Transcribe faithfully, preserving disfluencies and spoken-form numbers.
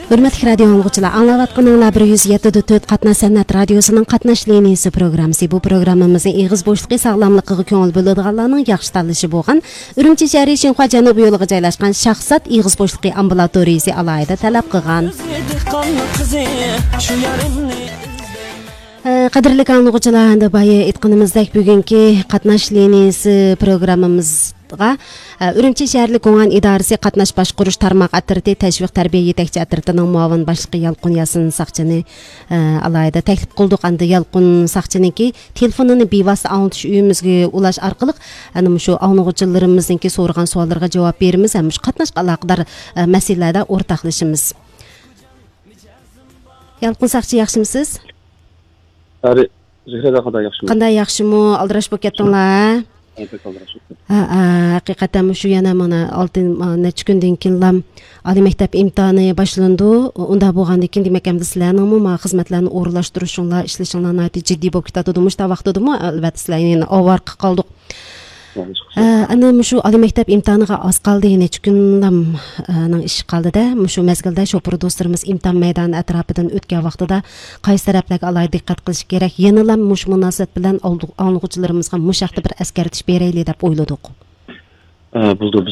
ھۆرمەتلىك رادىيو ئاڭلىغۇچىلار، ئاڭلاۋاتقىنىڭلار بىر يۈز يەتتە دۆت تۆت قاتناش سەنئەت رادىيوسىنىڭ قاتناش لىنىيىسى پروگراممىسى. بۇ پروگراممىمىزنىڭ ئېغىز بوشلۇقى ساغلاملىقىغا كۆڭۈل بۆلىدىغانلارنىڭ ياخشى تاللىشى بولغان ئۈرۈمچى شەھىرى شىنخۇا جەنۇبىي يولىغا جايلاشقان شاخسات ئېغىز بوشلۇقى ئامبۇلاتورىيىسى ئالاھىدە تەلەپ قىلغان. ئە، قەدىرلىك ئاڭلىغۇچىلار، ئەمدى بايا ئېيتقىنىمىزدەك، بۈگۈنكى قاتناش لىنىيىسى پروگراممىمىزغا، ئە، ئۈرۈمچى شەھەرلىك گۇڭئەن ئىدارىسى قاتناش باشقۇرۇش تارماق ئەترىتى تەشۋىق تەربىيە يېتەكچى ئەترىتىنىڭ مۇئاۋىن باشلىقى يالقۇن ياسىن ساقچىنى، ئە، ئالاھىدە تەكلىپ قىلدۇق. ئەمدى يالقۇن ساقچىنىڭكى تېلېفونىنى بىۋاسىتە ئاڭلىتىش ئۆيىمىزگە ئۇلاش ئارقىلىق، ئەنە مۇشۇ ئاڭلىغۇچىلىرىمىزنىڭكى سورىغان سوئاللىرىغا جاۋاب بېرىمىز ھەم مۇشۇ قاتناشقا ئالاقىدار، ئە، مەسىلىلەردە ئورتاقلىشىمىز. يالقۇن ساقچى، ياخشىمۇ سىز؟ ئارى، زۆھرەدە قانداق، ياخشىمۇ؟ قانداق، ياخشىمۇ؟ ئالدىراش بولۇپ كەتتىڭلار، ھە؟ ھە، بەك ئالدىراش بولۇپ كەتتىم. ھە، ھە، ھەقىقەتەن مۇشۇ يەنە مانا ئالتە، ما، نەچچە كۈندىن كېيىنلا ئالىي مەكتەپ ئىمتىھانى باشلىنىدۇ. ئۇنداق بولغاندىن كېيىن، دېمەك، ئەمدى سىلەرنىڭمۇ ما خىزمەتلەرنى ئورۇنلاشتۇرۇشۇڭلار، ئىشلىشىڭلار ناھايىتى جىددىي بولۇپ كېتىدۇ. مۇشۇنداق ۋاقتىدىمۇ، ئەلۋەتتە، سىلەر يەنە ئاۋارە قالدۇق. ھە، ئەنە مۇشۇ ئالىي مەكتەپ ئىمتىھانىغا ئاز قالدى، نەچچە كۈنلام، ئە، نىڭ ئىشى قالدى-دە. مۇشۇ مەزگىلدە شوپۇر دوستلىرىمىز ئىمتىھان مەيدانى ئەتراپىدىن ئۆتكەن ۋاقتىدا قايسى تەرەپلەرگە ئالاھىدە دىققەت قىلىش كېرەك؟ يەنىلا مۇشۇ مۇناسىۋەت بىلەن ئاڭلىغۇچىلىرىمىزغا مۇشۇ ھەقتە بىر ئەسكەرتىش بېرەيلى دەپ ئويلىدۇق. ئە، بولىدۇ.